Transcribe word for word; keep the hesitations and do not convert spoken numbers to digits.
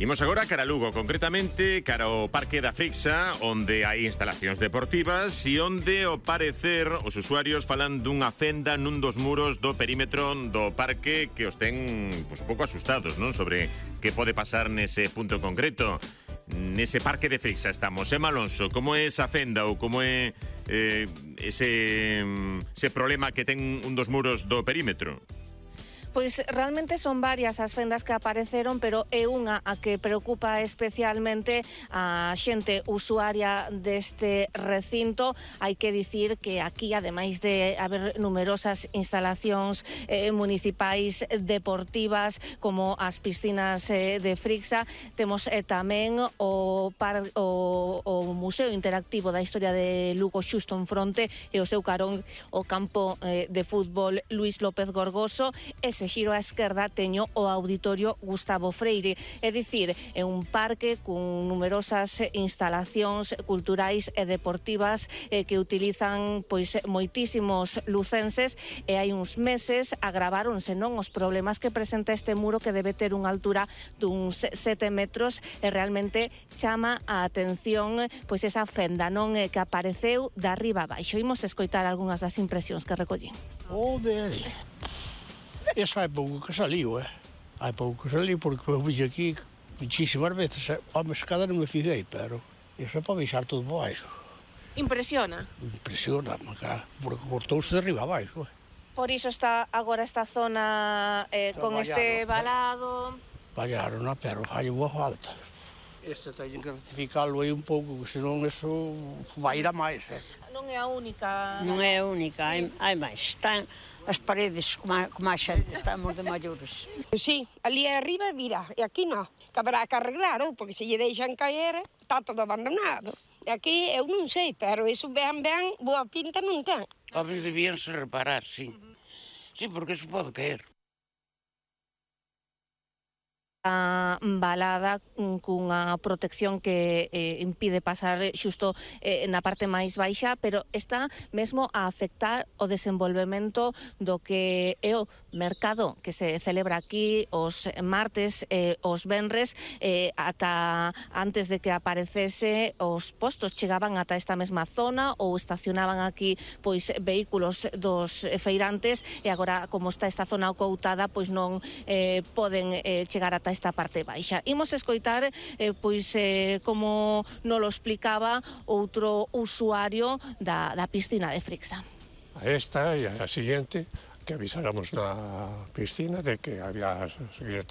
Imos agora cara a Lugo, concretamente cara ao Parque da Frixa, onde hai instalacións deportivas e onde, ao parecer, os usuarios falan dunha fenda nun dos muros do perímetro do parque que os ten pues, un pouco asustados, non? Sobre que pode pasar nese punto concreto. Nese Parque de Frixa estamos. Emma Alonso, como é esa fenda ou como é eh, ese, ese problema que ten un dos muros do perímetro? Pois realmente son varias as fendas que apareceron, pero é unha a que preocupa especialmente a xente usuaria deste recinto. Hai que dicir que aquí, ademais de haber numerosas instalacións eh, municipais deportivas como as piscinas eh, de Frixa, temos eh, tamén o, par, o, o Museo Interactivo da Historia de Lugo xusto en fronte e o seu carón o campo eh, de fútbol Luís López Gorgoso. Ese xiro á esquerda teño o Auditorio Gustavo Freire, é dicir, é un parque con numerosas instalacións culturais e deportivas eh, que utilizan pois moitísimos lucenses, e hai uns meses agravaronse non os problemas que presenta este muro, que debe ter unha altura duns sete metros, e realmente chama a atención pois esa fenda non eh, que apareceu de arriba a baixo. Imos escoitar algunhas das impresións que recollín. Joder. Esa hai pouco que saliu, eh? Hai pouco que saliu porque eu vi aquí muchísimas veces. Home, se cada non me figuei, pero iso é para baixar todo para baixo. Impresiona? Impresiona, porque cortouse de arriba a baixo, eh? Por iso está agora esta zona eh, con este valado. Vallaron, pero fai boa falta. Este teñen que rectificalo aí un pouco, que senón eso vai ir a máis, eh? Non é a única. Non é a única, sí. hai, hai máis. Están as paredes como a, como a xente, estamos de maiores. Sí, ali arriba, mira, e aquí non. Que habrá que arreglar, ou, porque se lle deixan caer, está todo abandonado. E aquí eu non sei, pero iso ben, ben, boa pinta non ten. Home, debíanse reparar, sí. Sí, porque iso pode caer. A balada cunha protección que eh, impide pasar xusto eh, na parte máis baixa, pero está mesmo a afectar o desenvolvemento do que é o mercado que se celebra aquí os martes e eh, os venres. eh, ata antes de que aparecese, os postos chegaban ata esta mesma zona ou estacionaban aquí pois vehículos dos feirantes, e agora, como está esta zona ocoutada, pois non eh, poden eh, chegar ata esta parte baixa. Imos escoitar eh, pois eh, como nolo explicaba outro usuario da, da piscina de Frixa. A esta e a siguiente, que avisáramos na piscina de que había